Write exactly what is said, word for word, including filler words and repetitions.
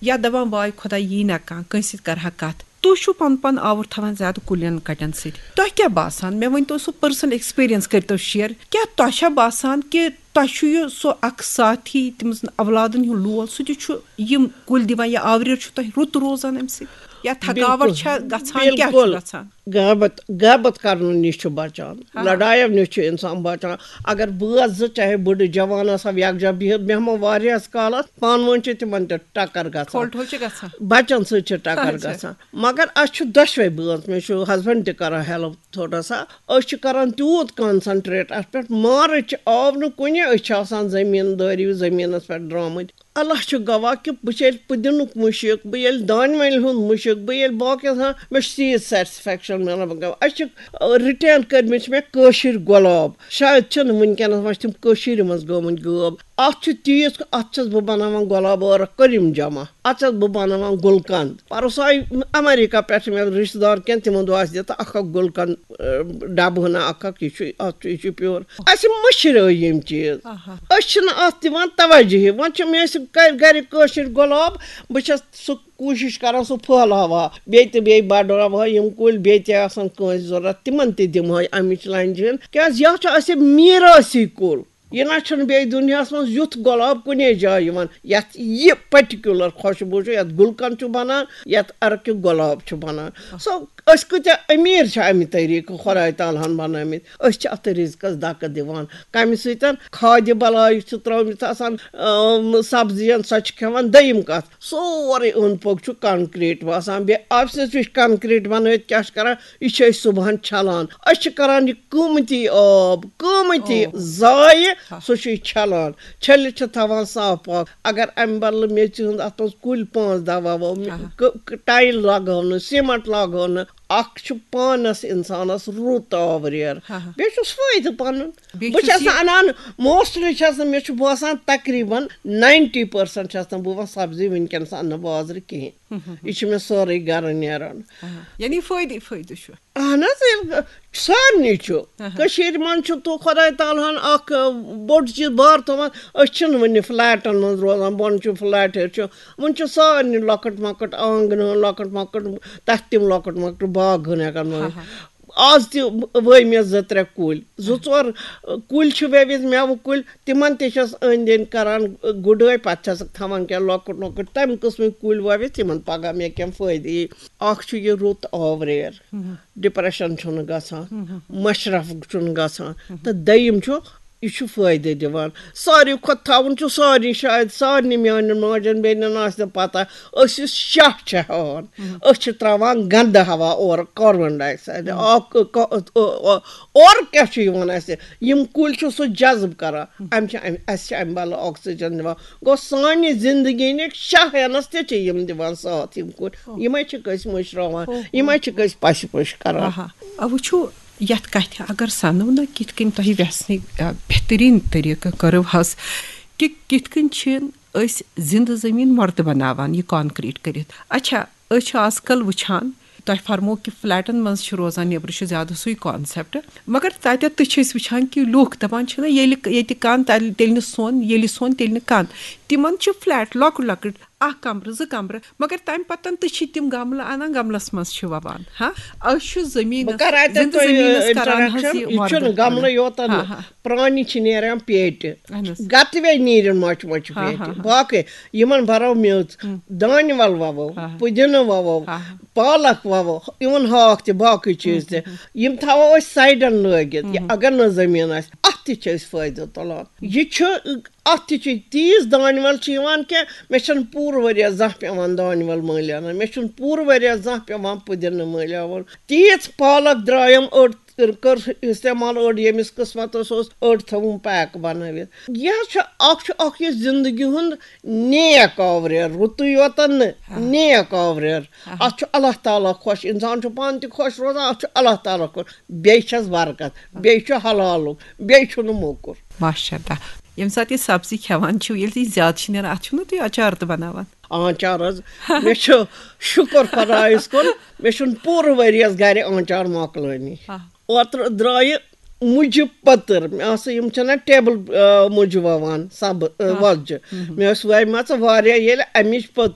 یا دپان، واے خۄدا، یی نہ کانٛہہ، کٲنٛسہِ سۭتۍ کرٕ ہا کتھ۔ تُہۍ چھِو پنُن پان آوُر تھاوان زیادٕ کُلٮ۪ن کٹٮ۪ن سۭتۍ۔ تۄہہِ کیٛاہ باسان؟ مےٚ ؤنۍ تو سُہ personal experience، کٔرۍ تو share۔ کیٛاہ تۄہہِ چھا باسان کہِ تۄہہِ چھُ یہِ سُہ اکھ ساتھی، تٔمۍ سٕنٛدۍ اولادن ہُنٛد لول، سُہ تہِ چھُ یِم کُلۍ دِوان، یا آوریر چھُ تۄہہِ رُت روزان امہِ سۭتۍ؟ یا تھکاوٹ بِلکُل۔ چھا گژھان؟ کیٛاہ چھُ بِلکُل۔ گژھان؟ غیبت، غیبت کرنہٕ نِش چھُ بچان، ہاں۔ لڑایو نِش چھُ انسان بچان۔ اگر بٲژ زٕ، چاہے بٕڑٕ جوان آسو، یکجا بِہِتھ بیٚہمو واریاہس کالس، پانہٕ ؤنۍ چھِ تِمن تہِ ٹکر گژھان۔ کھوٹھو چھِ گژھان۔ بچن سۭتۍ چھِ ٹکر اچھا۔ گژھان۔ مگر اسہِ چھُ دۄشوے بٲژ، مےٚ چھُ husband تہِ کران help تھوڑا سا۔ أسۍ چھِ کران تیوٗت concentrate اتھ پٮ۪ٹھ، مارچ آو نہٕ کُنہِ، أسۍ چھِ آسان زٔمیٖندٲری، زٔمیٖنس پٮ۪ٹھ درٛامٕتۍ۔ اللہ چھُ گواہ کہِ بہٕ چھِ ییٚلہِ پُدِنُک مُشک، بہٕ ییٚلہِ دانہِ وَلہِ ہُنٛد مُشک، بہٕ ییٚلہِ باقٕے آسان، مےٚ چھُ تیٖژ satisfaction مِلان۔ بہٕ گوٚو، اَسہِ چھِ، آ، retain کٔرمٕتۍ چھِ مےٚ کٲشِرۍ گۄلاب، شاید چھِنہٕ وٕنکیٚنَس، وۄنۍ چھِ تِم کٔشیٖرِ منٛز گٲمٕتۍ غٲب۔ اَتھ چھُ تیٖژ، اَتھ چھَس بہٕ بَناوان گۄلاب ٲرَکھ، کٔرِم جمع، اَتھ چھَس بہٕ بَناوان گُلقَنٛد۔ پَرُس آیہِ اَمریٖکہ پٮ۪ٹھ مےٚ رِشتہٕ دار کینٛہہ، تِمَن دوٚپ، اَسہِ دِ تہٕ اَکھ اَکھ گُلقَنٛد، آ، ڈَبہٕ ہنا اَکھ اَکھ، یہِ چھُ، اَتھ چھُ، یہِ چھُ pure۔ اَسہِ مٔشرٲے یِم چیٖز۔ آہا۔ أسۍ چھِنہٕ اَتھ دِوان توجہٕے۔ وۄنۍ چھِ مےٚ ٲسۍ گَرِ، گَرِ کٲشِرۍ گۄلاب، بہٕ چھَس سُہ کوٗشِش کَران سُہ پھٔہلاوہا، بیٚیہِ تہِ بیٚیہِ بَڑراوہا یِم کُلۍ، بیٚیہِ تہِ آسَن کٲنٛسہِ ضوٚرَتھ، تِمَن تہِ دِمہٕ ہا اَمِچ لَنجہِ ہٕن۔ کیٛازِ یہِ ہا چھُ اَسہِ میٖراثی کُل۔ یہِ نہ چھُنہٕ بیٚیہِ دُنیاہَس منٛز یُتھ گۄلاب کُنے جایہِ یِوان، یَتھ یہِ particular خوشبوٗ چھُ، یَتھ گُلقَنٛد چھُ بَنان، یَتھ اَرکہِ گۄلاب چھُ بَنان۔ سو أسۍ کۭتیٛاہ أمیٖر چھِ اَمہِ طریٖقہٕ خۄداے تعالیٰ ہَن بَنٲومٕتۍ۔ أسۍ چھِ اَتھ رِزقَس دَکہٕ دِوان۔ کَمہِ سۭتۍ؟ کھادِ بَلایہِ چھِ ترٛٲومٕژ آسان، اۭں، سبزِیَن، سۄ چھِ کھٮ۪وان۔ دوٚیِم کَتھ، سورُے اوٚنٛد پوٚک چھُ concrete باسان۔ بیٚیہِ آفسَس نِش concrete بَنٲوِتھ کیٛاہ چھِ کَران؟ یہِ چھِ أسۍ صُبحَن چھَلان۔ أسۍ چھِ کَران یہِ قۭمتی آب، قۭمتی او۔ ضایع، ہا۔ سُہ چھُ یہِ چھَلان۔ چھٔلِتھ چھِ تھاوان صاف پاک۔ اگر اَمہِ بدلہٕ میٚژِ ہُنٛد اَتھ منٛز کُلۍ پانٛژھ دَہ وَوو، آہا۔ ک-، ک-، tile لاگہو نہٕ، cement لاگہو نہٕ، اَکھ چھُ پانَس اِنسانَس رُت آوریر۔ ہا ہا۔ بیٚیہِ چھُس فٲیدٕ پَنُن۔ بیٚیہِ بہٕ چھُس چھَس یہِ نہٕ اَنان، mostly چھَس نہٕ، مےٚ چھُ باسان تقریٖباً ninety percent چھَس نہٕ بہٕ وۄنۍ سبزی وٕنکیٚنَس اَننہٕ بازرٕ کِہیٖنۍ۔ ہُم، ہُم، ہُم۔ یہِ چھُ مےٚ سورُے گَرٕ نیران۔ آہا۔ یعنی فٲیدٕ، فٲیدٕ چھُ۔ اہن حظ، ییٚلہِ سارنٕے چھُ۔ اہا۔ کٔشیٖرِ منٛز چھُ تو خۄداے تعالیٰ ہَن اَکھ، آ، بوٚڑ چیٖز بار تھوٚومُت۔ أسۍ چھِنہٕ وٕنہِ فلیٹَن منٛز روزان، بۄنہٕ چھُ فلیٹ، ہیٚرِ چھُ۔ وٕنہِ چھُ سارنٕے لۄکٕٹ مۄکٕٹ آنٛگنہٕ، لۄکٕٹ مۄکٕٹ تَتھ تِم لۄکٕٹ مۄکٕٹ باغ ہن ہٮ۪کان بنٲوِتھ۔ اہا۔ آز تہِ وٲے مےٚ زٕ ترٛےٚ کُلۍ، زٕ ژور کُلۍ چھِ وٲوِتھ، مٮ۪وٕ کُلۍ، تِمن تہِ چھَس أنٛدۍ أنٛدۍ کران گُڈٲے، پتہٕ چھَسکھ تھاوان کینٛہہ لۄکٕٹ لۄکٕٹ تَمہِ قٕسمٕکۍ کُلۍ وٲوِتھ، تِمن پگاہ مےٚ کینٛہہ فٲیدٕ یی۔ اَکھ چھُ یہِ رُت آوریر، ہُم۔ depression چھُنہٕ گژھان، ہُم، ہُم۔ مشرف چھُنہٕ گژھان، ہُم۔ تہٕ دوٚیِم چھُ، یہِ چھُ فٲیدٕ دِوان۔ ساروی کھۄتہٕ تھاوُن چھُ سارنٕے، شاید سارنٕے میٛانٮ۪ن ماجٮ۪ن بیٚنٮ۪ن آسہِ نہٕ پتہ، أسۍ یُس شاہ چھِ ہٮ۪وان، ہُم۔ أسۍ چھِ ترٛاوان گنٛدٕ ہوا اورٕ، carbon dioxide۔ ہُم۔ اَکھ، ک-، اورٕ کیٛاہ چھُ یِوان اَسہِ؟ یِم کُلۍ چھِ سُہ جذب کران۔ ہُم۔ اَمہِ چھِ اَمہِ، اَسہِ چھِ اَمہِ بدلہٕ oxygen دِوان۔ گوٚو، سانہِ زندگی نِکۍ شاہ ہٮ۪نَس تہِ چھِ یِم دِوان ساتھ، یِم کُلۍ۔ اوہ۔ یِمَے چھِکھ أسۍ مٔشراوان، اوہ۔ یِمَے چھِکھ أسۍ پَشہِ پٲشۍ کران۔ آہا۔ آ، وٕچھِو، یَتھ کَتھِ اگر سَنو نہ، کِتھ کٔنۍ تۄہہِ وٮ۪ژھنٕے، آ، بہتریٖن طریٖقہٕ کٔرٕو حظ، کہِ کِتھ کٔنۍ چھِ أسۍ زِندٕ زٔمیٖن مۄردٕ بَناوان، یہِ concrete کٔرِتھ۔ اچھا، أسۍ چھِ آز کل وٕچھان، تۄہہِ فرمو کہِ فلیٹن منٛز چھِ روزان، نیٚبرٕ چھُ زیادٕ سُے concept، مگر تَتٮ۪تھ تہِ چھِ أسۍ وٕچھان کہِ لُکھ دَپان چھِنہ، ییٚلہِ، ییٚتہِ کَن تَلہِ، تیٚلہِ نہٕ سۄن، ییٚلہِ سۄن، تیٚلہِ نہٕ کَن۔ تِمن چھِ فلیٹ لۄکُٹ لۄکُٹ، اکھ کمرٕ، زٕ کمرٕ، مگر تمہِ پتن تہِ چھِ تِم گملہٕ انان، گملس منٛز چھِ ووان۔ ہاں، أسۍ چھِ زٔمیٖنس، بہٕ کرٕ اتٮ۪تھ زِندٕ تۄہہِ، زٔمیٖنس آ، کران حظ introduction۔ یہِ یہِ مۄردٕ چھُنہٕ گملہٕ بناوان۔ یوتن ہاں، نہٕ۔ ہاں۔ پرٛانی چھِ نیران پیٹہِ۔ اہن حظ۔ گتہٕ وے نیرن مۄچہِ مۄچہِ ہاں، پیٹہِ۔ ہاں، ہاں۔ باقٕے یِمن برو میٚژ، ہم۔ دانہِ ول ووو، ہاں، ہاں۔ پُدینہٕ ووو، ہاں، ہاں۔ پالک ووو، even ہاکھ تہِ، باقٕے چیٖز تہِ۔ ہم، ہم، ہم۔ یِم تھاوو أسۍ سایڈن لٲگِتھ۔ یہِ ہم، ہم۔ اگر نہٕ زٔمیٖن آسہِ، اتھ تہِ چھِ أسۍ فٲیدٕ تُلان۔ یہِ چھُ، اَتھ تہِ چھِ تیٖژ دانہِ وَل چھِ یِوان کہِ مےٚ چھَنہٕ پوٗرٕ ؤریَس زانٛہہ پٮ۪وان دانہِ وَل مٔلۍ اَنٕنۍ، مےٚ چھُنہٕ پوٗرٕ ؤریَس زانٛہہ پٮ۪وان پُدینہٕ مٔلۍ اَنُن۔ تیٖژ پالک درٛایَم، أڑ کٔر استعمال، أڑ ییٚمِس قٕسمَتَس اوس، أڑ تھٲوٕم pack بَنٲوِتھ۔ یہِ حظ چھُ اَکھ، چھُ اَکھ یہِ زِندگی ہُنٛد نیک آوریر، رُتُے یوتَن نہٕ، ہاں۔ نیک آوریر۔ ہاں۔ اَتھ چھُ اللہ تعالیٰ خۄش، اِنسان چھُ پانہٕ تہِ خۄش روزان، اَتھ چھُ اللہ تعالیٰ خۄش۔ بیٚیہِ چھَس برکت، بیٚیہِ چھُ حلالُک، بیٚیہِ چھُنہٕ موٚکُر۔ ماشاء اللہ۔ ییٚمہِ ساتہٕ یہِ سبزی کھٮ۪وان چھِو، ییٚلہِ تہِ یہِ زیادٕ چھِ نیران، اَتھ چھِو نہ تُہۍ اچار تہِ بَناوان؟ آنچار حظ، مےٚ چھُ شُکر خۄدایَس کُن، مےٚ چھُنہٕ پوٗرٕ ؤریَس گَرِ آنچار مۄکلٲنی۔ آ۔ اوترٕ درٛایہِ مُجہِ پٔتٕر، مےٚ آسہٕ یِم چھَنہ ٹیبٕل، آ، مُجہِ وَوان، سَبہٕ، آ، آ۔ وۄزجہِ۔ ہُم، ہُم۔ مےٚ ٲسۍ وَومَژٕ واریاہ، ییٚلہِ اَمِچ پٔتٕر